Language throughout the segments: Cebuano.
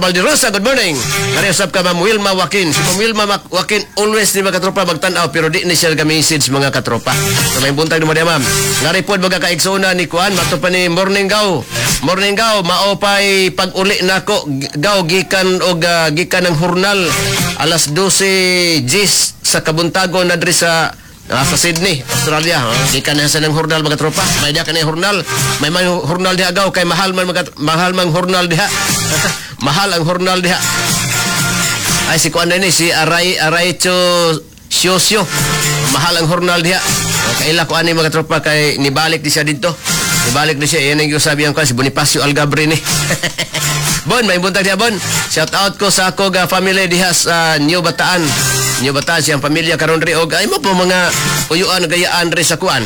Kabalderosa, good morning. Kari usab ka Ma'am Wilma Joaquin. Si Ma'am Wilma Joaquin always ni, mga katropa, magtan-aw pero di ni siya ga-message, mga katropa. So may buntag nimo diha, ma'am. Ngari pod, mga kaigsoona ni kuan mato pa ni morning gaw. Morning gaw, mao pay pag-uli nako gaw gikan og gikan ng hurnal alas 12 gis sa kabuntagon na diri sa Sydney, Australia. Ha? Gikan na sa ng hurnal, mga tropa. May diha kanay hurnal. May man hurnal diha gaw kay mahal man mga, mahal mang hurnal diha. Mahal ang hurnal diha. Ay, si kuan ni si Aray Araycho Siosio. Mahal ang hurnal diha. O, kaila ko ani, mga tropa, kay nibalik di siya dito. Nibalik di siya. Yan ang sabi ang kuan si Bonifacio Algabre ni. Bon, may buntag diha, Bon. Shout out ko sa ako ga family diha sa New Bataan. New Bataan siyang pamilya karon ri og ay mo po mga uyuan gayaan ri sa kuan.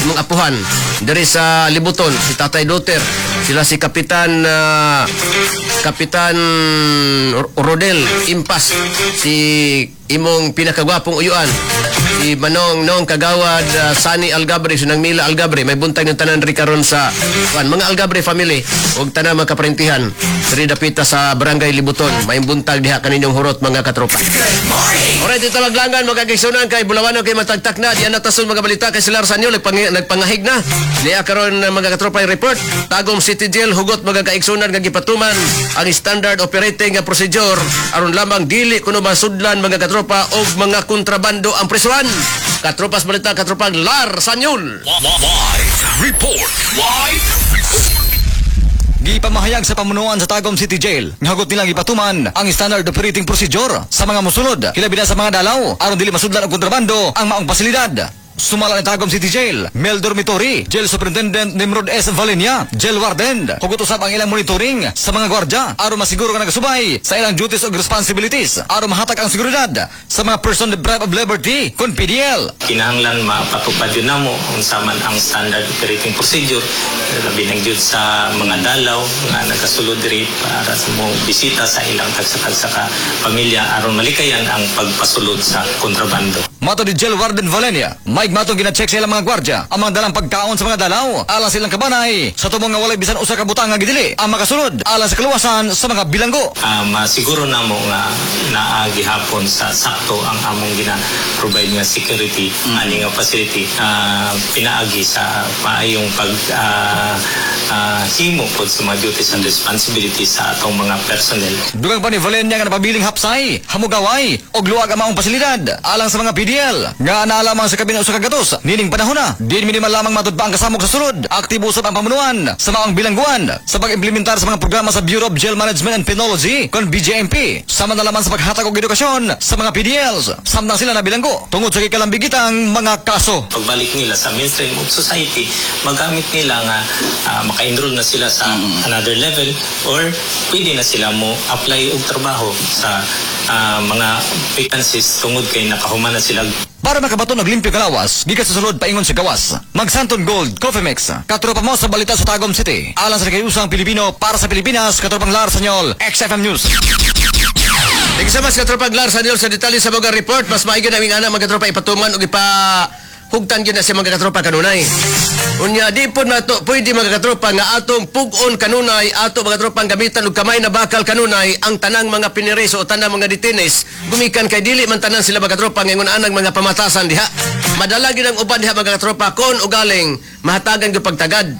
Imong apuhan diri sa Libuton, si Tatay Duter, sila si Kapitan Rodel Impas, si imong pinakagwapong uyuan, si Manong Nong Kagawad Sani Algabre, si Nang Mila Algabre, may buntag ng tanan ri karon sa kuan, mga Algabre family ug tanan mga kaparintihan diri dapita sa Barangay Libuton. May buntag diha kaninyong hurot, mga katropa. Alright, ito maglangan, mga kaigsunan, kay Bulawan kay matagtak na diyan natason mga balita kay Silar Sanyo nagpangahig na. Niya karon mga katropa yung report. Tagum City Jail hugot, mga kaigsunan, nga gipatuman ang standard operating nga procedure aron lamang dili kuno masudlan, mga katropa, og mga kontrabando ang presuhan. Katropas balita, katropang Lar Sanyul. Live report. Live report. Gipamahayag sa pamunuan sa Tagum City Jail nga hugot nilang ipatuman ang standard operating procedure sa mga musulod, hilabi na sa mga dalaw, aron dili masudlan og kontrabando ang maong pasilidad. Sumala ni Tagum City Jail, Mel Dormitory, Jail Superintendent Nimrod S. Valenia, Jail Warden, hugot usab ang ilang monitoring sa mga gwardya aron masiguro nga nagasubay sa ilang duties ug responsibilities aron mahatag ang seguridad sa mga person deprived of liberty kon PDL. Kinahanglan mapatupad yun namo unsa man ang standard operating procedure, labi nang jud sa mga dalaw nga nagasulod diri para sa mo bisita sa ilang tagsa-tagsa ka pamilya aron malikayan ang pagpasulod sa kontrabando. Mato ni Jail Warden Valenia, may matong gina-check sa ilang mga gwardya ang mga dalang pagkaon sa mga dalaw alang sa ilang kabanay sa tumong nga walay bisan usa ka butang nga gidili ang makasulod alang sa kaluwasan sa mga bilanggo. Masiguro namo nga naa gihapon sa sakto ang among gina-provide nga security ani nga facility pinaagi sa maayong pag himo pod sa mga duties and responsibilities sa atong mga personnel. Dugang pa ni Valenia nga napabiling hapsay, hamugaway og luwag ang maong pasilidad alang sa mga PDL nga naa lamang sa kapin usa ka gatos nining panahon na. Din minimal lamang matud pa ang kasamok sa sulod. Aktibo usab ang pamunuan sa maong bilangguan sa pag-implementar sa mga programa sa Bureau of Jail Management and Penology kon BJMP, sama na lamang sa paghatag og edukasyon sa mga PDLs samtang sila nabilanggo tungod sa gikalambigitang mga kaso. Pagbalik nila sa mainstream of society, magamit nila nga maka-enroll na sila sa another level or pwede na sila mo apply og trabaho sa mga vacancies tungod kay nakahuman na sila. Para makabaton og limpyo kalawas, gikan sa sulod paingon sa gawas. Magsanton Gold Coffee Mix. Katropa mo sa balita sa Tagum City. Alang sa kayusang Pilipino para sa Pilipinas, katropang Lar Sanyol, XFM News. Thank you so much, katropang Lar Sanyol, sa detalye sa mga report. Mas maigi naming ana, mga katropa, ipatuman og ipa hugtan gyud na siya, mga katropa, kanunay. Unya di po nato pwede, mga katropa, nga atong pug-on kanunay ato, mga katropa, ang gamitan og kamay na bakal kanunay ang tanang mga piniriso o tanang mga detainees gumikan kay dili man tanan sila, mga katropa, ngingon anang mga pamatasan diha. Madala gyud ang uban diha, mga katropa, kon ugaling mahatagan gyud pagtagad.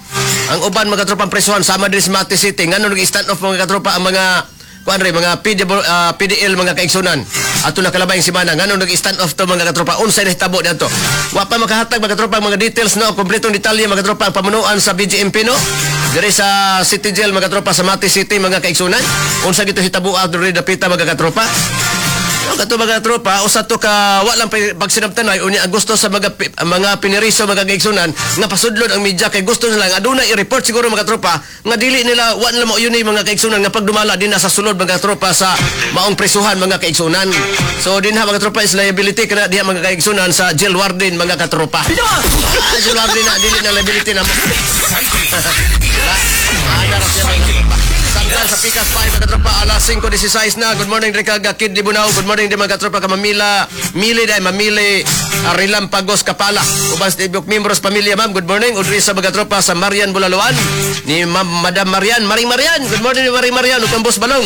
Ang uban, mga katropa, ang presuhan sama diri sa Mati City, ngano nag-stand off, mga katropa, ang mga kuan re mga PD, PDL, mga kaigsunan, ato nakalabay semana? Ngano nag-stand off to, mga katropa? Unsay nahitabo didto? Wa pa makahatag, mga katropa, mga details, no, kompletong detalye, mga katropa, ang pamunuan sa BJMP, no, diri sa City Jail, mga katropa, sa Mati City, mga kaigsunan. Unsa gito hitabo diri dapita, mga katropa? No, kato, mga tropa, usa to ka wa lang pagsinabtanay. Unya ang gusto sa mga piniriso, mga kaigsunan, nga pasudlon ang media kay gusto nila nga aduna i-report siguro, mga tropa, nga dili nila wa nila mao yun mga kaigsunan nga pagdumala din na sa sulod, mga tropa, sa maong presuhan, mga kaigsunan. So dinha, mga tropa, is liability kana diha, mga kaigsunan, sa jail warden, mga katropa. Ah, jail warden na dili na liability na mo. Ana ra siya, mga katropa. Samtang sa Pikas 5, mga katropa, alas 5:16 na. Good morning Rika Kid Libunaw. Good morning din, mga katropa, ka Mamila Mili dai Mamili Arilam Pagos Kapala. Uban sa tibok membros pamilya, ma'am. Good morning. Udri sa mga tropa sa Marian Bulaluan ni Ma'am Madam Marian, Maring Marian. Good morning, Maring Marian ug kang Boss Balong.